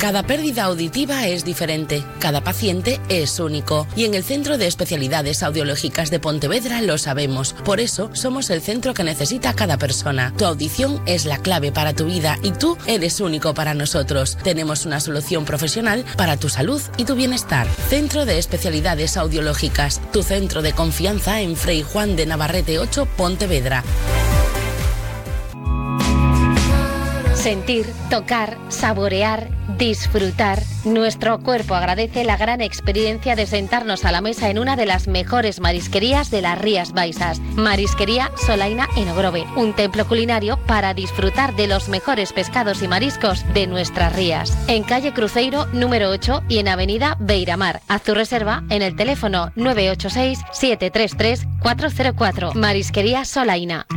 Cada pérdida auditiva es diferente, cada paciente es único y en el Centro de Especialidades Audiológicas de Pontevedra lo sabemos. Por eso somos el centro que necesita cada persona. Tu audición es la clave para tu vida y tú eres único para nosotros. Tenemos una solución profesional para tu salud y tu bienestar. Centro de Especialidades Audiológicas, tu centro de confianza en Frei Juan de Navarrete 8, Pontevedra. Sentir, tocar, saborear, disfrutar. Nuestro cuerpo agradece la gran experiencia de sentarnos a la mesa en una de las mejores marisquerías de las Rías Baixas. Marisquería Solaina en Ogrove, un templo culinario para disfrutar de los mejores pescados y mariscos de nuestras rías. En calle Cruzeiro número 8 y en avenida Beiramar. Haz tu reserva en el teléfono 986 733 404. Marisquería Solaina.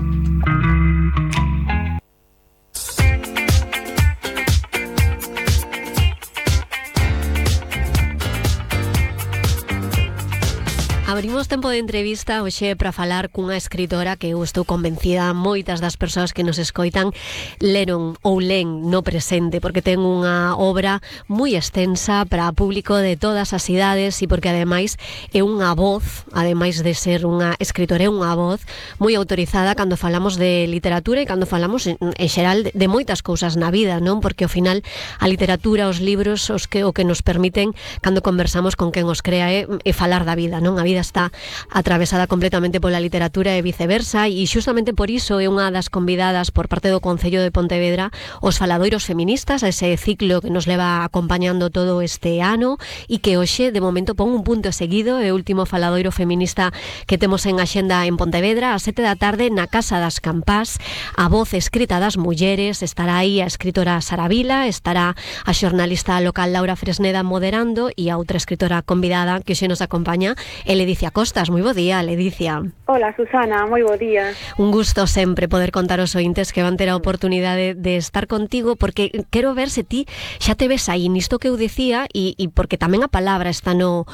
Abrimos tempo de entrevista hoxe para falar cunha escritora que eu estou convencida moitas das persoas que nos escoitan leron ou len no presente, porque ten unha obra moi extensa para público de todas as idades e porque ademais é unha voz, ademais de ser unha escritora, é unha voz moi autorizada cando falamos de literatura e cando falamos en xeral de moitas cousas na vida, non? Porque ao final a literatura, os libros, o que nos permiten cando conversamos con quen os crea é falar da vida, non? A vida está atravesada completamente pola literatura e viceversa e xustamente por iso é unha das convidadas por parte do Concello de Pontevedra os faladoiros feministas, ese ciclo que nos leva acompañando todo este ano e que hoxe de momento pon un punto seguido, é o último faladoiro feminista que temos en axenda en Pontevedra a 7 da tarde na Casa das Campás. A voz escrita das mulleres, estará aí a escritora Sara Vila, estará a xornalista local Laura Fresneda moderando e a outra escritora convidada que hoxe nos acompaña é Ledicia Costas. Moi bo día, Ledicia. Hola, Susana, moi bo día. Un gusto sempre poder contar aos ointes que van ter a oportunidade de estar contigo, porque quero ver se ti xa te ves aí nisto que eu dicía e porque tamén a palabra está no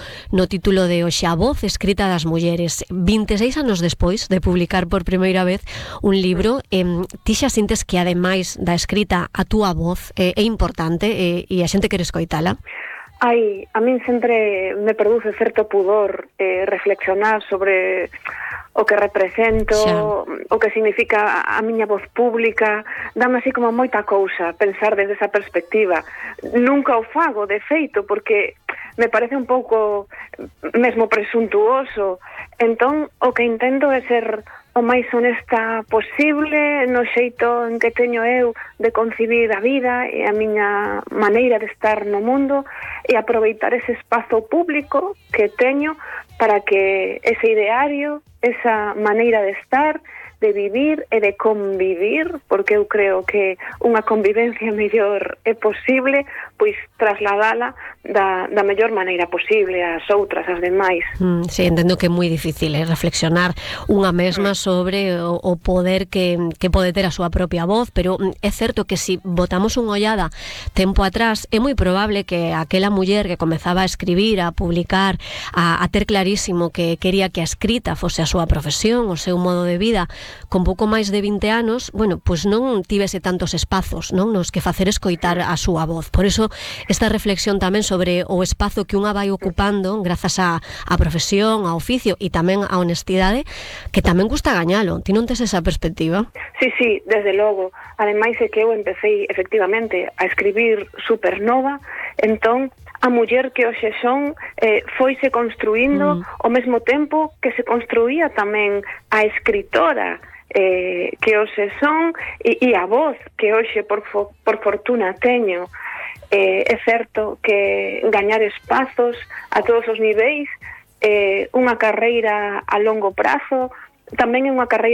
título de hoxe, a voz escrita das mulleres. 26 anos despois de publicar por primeira vez un libro, ti xa sintes que ademais da escrita a túa voz é importante e a xente quere escoitala? Ai, a min sempre me produce certo pudor reflexionar sobre o que represento, o que significa a miña voz pública. Dame así como moita cousa pensar desde esa perspectiva. Nunca o fago, de feito, porque me parece un pouco mesmo presuntuoso. Entón, o que intento é ser o máis honesta posible no xeito en que teño eu de concibir a vida e a miña maneira de estar no mundo e aproveitar ese espazo público que teño para que ese ideario, esa maneira de estar, de vivir e de convivir, porque eu creo que unha convivencia mellor é posible, pois trasladala da mellor maneira posible ás outras, ás demais. Sí, entendo que é moi difícil reflexionar unha mesma sobre o poder que pode ter a súa propia voz, pero é certo que se botamos unha ollada tempo atrás, é moi probable que aquela muller que comezaba a escribir, a publicar, a ter clarísimo que quería que a escrita fose a súa profesión, o seu modo de vida, con pouco máis de 20 anos, bueno, pois non tivese tantos espazos, non, nos que facer escoitar a súa voz. Por iso esta reflexión tamén sobre o espazo que unha vai ocupando grazas á profesión, ao oficio e tamén á honestidade, que tamén gusta gañalo. Ti non tes esa perspectiva? Sí, desde logo. Ademais é que eu empecé efectivamente a escribir supernova, entón a muller que hoxe son foise construindo ao mesmo tempo que se construía tamén a escritora que hoxe son e a voz que hoxe por fortuna teño. É certo que gañar espazos a todos os niveis, unha carreira a longo prazo, tamén é unha carreira